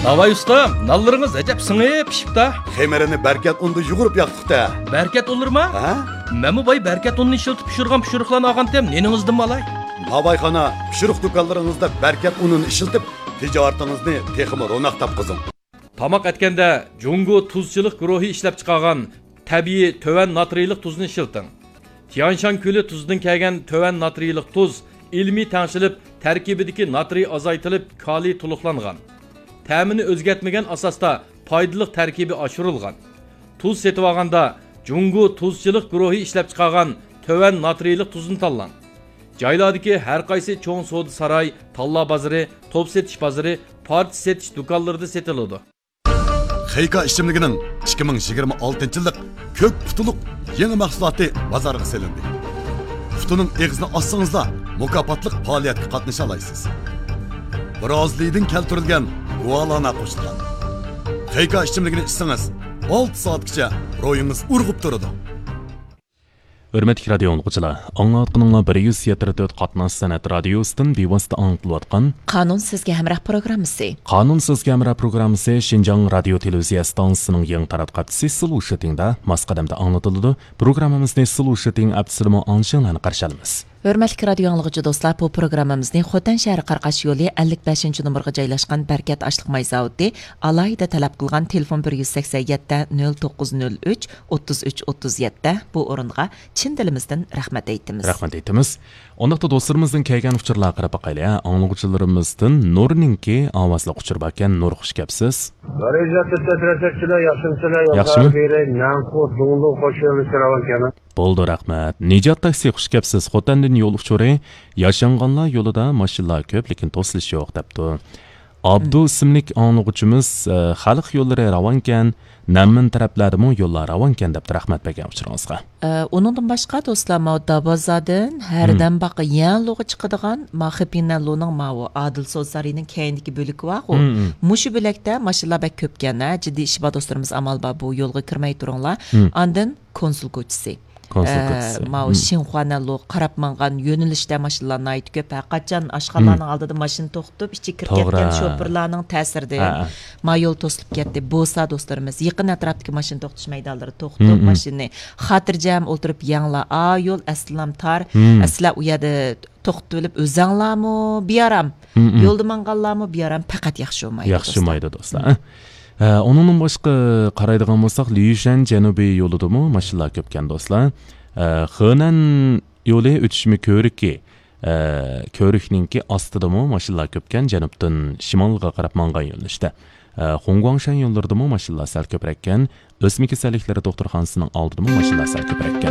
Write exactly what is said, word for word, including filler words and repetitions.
ناۋاي ئۇستام، نانلىرىڭىز ئەجەب سىڭىپ پىشىپتا. خېمىرىنى بەركەت ئۇندا يۇغۇرۇپ ياقتۇق-تە. بەركەت ئۇنلىرىما؟ ھە؟ مەنمۇ باي بەركەت ئۇنىنى ئىشلىتىپ پىشۇرغان پىشۇرۇقلارنى ئالغانتىم، نېنىڭىزدىنمۇ ئالاي؟ ناۋايخانا، پىشۇرۇق دۇكانلىرىڭىزدا بەركەت ئۇنىنى ئىشلىتىپ، تىجارىتىڭىزنى تېخىمۇ روناق تاپقۇزۇڭ. تاماق ئەتكەندە جۇڭگو تۇزچىلىق گۇرۇھى ئىشلەپچىقارغان تەبىئىي تۆۋەن ناترىيلىق تۇزنى ئىشلىتىڭ. تيانشان كۆلى تۇزىدىن كەلگەن تۆۋەن ناترىيلىق تۇز ئىلمىي تەڭشىلىپ، تەركىبىدىكى ناترىي ئازايتىلىپ، كالىي تولۇقلانغان. تەمىنى ئۆزگەرتمىگەن ئاساستا پايدىلىق تەركىبى ئاشۇرۇلغان. تۇز سېتىۋالغاندا جۇڭگو تۇزچىلىق گۇرۇھى ئىشلەپچىقارغان تۆۋەن ناترىيلىق تۇزنى تاللاڭ. جايلاردىكى ھەر قايسى چوڭ سودا ساراي، تاللا بازىرى، توپ سېتىش بازىرى، پارچە سېتىش دۇكانلىرىدا سېتىلىدۇ. خېيكا ئىچىملىكىنىڭ ئىككى مىڭ يىگىرمە ئالتىنچى يىللىق كۆك پۇتۇلۇق يېڭى مەھسۇلاتى بازارغا سېلىندى. پۇتىنىڭ ئېغىزىنى ئاچسىڭىزلا، مۇكاپاتلىق پائالىيەتكە قاتنىشالايسىز. برازىلىيىدىن كەلتۈرۈلگەن گۇالانا قوشۇلغان. خېيكا ئىچىملىكىنى ئىچسىڭىز، ئالتە سائەتكىچە روھىڭىز ئۇرغۇپ تۇرىدۇ. ھۆرمەتلىك رادىيو ئاڭلىغۇچىلار، ئاڭلاۋاتقىنىڭلار بىر يۈز يەتتە تۆت قاتناش سەنئەت رادىيوسىدىن بىۋاسىتە ئاڭلىتىلىۋاتقان قانۇن سىزگە ھەمراھ پروگراممىسى. قانۇن سىزگە ھەمراھ پروگراممىسى شىنجاڭ رادىيو تېلېۋىزىيە ئىستانسىسىنىڭ يېڭى تاراتقۇ ھەپتىسى سلۇشىتىڭدا ماس قەدەمدە ئاڭلىتىلىدۇ. پروگراممىمىزنى سلۇشىتىڭ ئەپسىدىمۇ ئاڭلىشىڭلارنى قارشى ئالىمىز. ھۆرمەتلىك رادىيو ئاڭلىغۇچى دوستلار، بۇ پروگراممىمىزنى خوتەن شەھىرى قاراقاش يولى ئەللىك بەشىنچى نومۇرغا جايلاشقان بەرىكەت ئاشلىق ماي زاۋۇتى ئالاھىدە تەلەپ قىلغان تېلېفون بىر يۈز سەكسەن يەتتە، نۆل توققۇز نۆل ئۈچ، ئوتتۇز ئۈچ ئوتتۇز يەتتە بۇ ئورۇنغا چىن دىلىمىزدىن رەھمەت ئېيتىمىز. رەھمەت ئېيتىمىز. ئۇنداقتا دوستلىرىمىزدىن كەلگەن ئۇچۇرلارغا قاراپ باقايلى، ھە؟ ئاڭلىغۇچىلىرىمىزدىن نۇرنىڭكى ئاۋازلىق ئۇچۇر باركەن. نۇر، خۇش كەپسىز. غەرىزە تۈتەترەتەكچىلەر ياخشىمۇسىلەر؟ ياخشىمۇ؟ ياقلار بېرەي، نەنخۇ، دۇڭلۇ، خوش يوللىشىراۋان كەنە. بولدى، رەھمەت. نىجات تاكسى، خۇش كەپسىز. خوتەندىن يول ئۇچۇرى، ياشانغانلار يولىدا ماشىنىلار كۆپ، لېكىن توسۇلۇش يوق، دەپتۇ. ئابدۇ ئىسىملىك ئاڭلىغۇچىمىز، ئە، خەلق يوللىرى راۋانكەن، نەمىن تەرەپلەردىمۇ يوللار راۋانكەن، دەپتۇ. رەھمەت بەرگەن ئۇچۇرىڭىزغا. ئە، ئۇنىڭدىن باشقا دوستلار، ماۋۇ دابازادىن ھەردەم باقا يەنلۇغا چىقىدىغان، ما خېپىنەنلۇنىڭ ماۋۇ ئادىل سودا سارىيىنىڭ كەينىدىكى بۆلىكى بارغۇ. مۇشۇ بۆلەكتە ماشىنىلار بەك كۆپكەن، ھە، جىددىي ئىشى بار دوستلىرىمىز ئامال بار بۇ يولغا كىرمەي تۇرۇڭلار. ئاندىن كونسۇل كوچىسى. كونسۇل ئە، كوچىسى. ماۋۇ شىنخۇانەنلۇ قاراپ ماڭغان يۆنىلىشتە ماشىنىلار ناھايىتى كۆپ. ھەرقاچان ئاشخانىلارنىڭ ئالدىدا ماشىنا توختىتىپ، ئىچىگە كىرىپ توغرا. كەتكەن شوپۇرلارنىڭ تەسىرىدىن ھە، ھە. ما يول توسۇلۇپ كەتتى. بولسا دوستلىرىمىز يېقىن ئەتراپتىكى ماشىنا توختىتىش مەيدانلىرىدا توختىتىپ، ماشىنىنى خاتىرجەم ئولتۇرۇپ يەڭلار. ئا يول ئەسلىلام تار. ئەسلىلەر ئۇ يەردە توختىتىۋېلىپ ئۆزەڭلارمۇ بىئارام. يولدا ماڭغانلارمۇ بىئارام، پەقەت ياخشى بولمايدۇ ياخشى دوستلار. بولمايدۇ دوستلار. ھە، ئۇنىڭدىن باشقا قارايدىغان بولساق، ليۇشەن جەنۇبىي يولىدىمۇ ماشىنىلار كۆپكەن دوستلار. ھە، خېنەن يولى ئۆتۈشمە كۆۋرۈكى، ئە، كۆۋرۈكنىڭكى ئاستىدىمۇ ماشىنىلار كۆپكەن، جەنۇبتىن شىمالغا قاراپ ماڭغان يۆنىلىشتە. ئە، خۇڭگۇاڭشەن يوللىرىدىمۇ ماشىنىلار سەل كۆپرەككەن، ئۆسمە كېسەللىكلىرى دوختۇرخانىسىنىڭ ئالدىدىمۇ ماشىنىلار سەل كۆپرەككەن.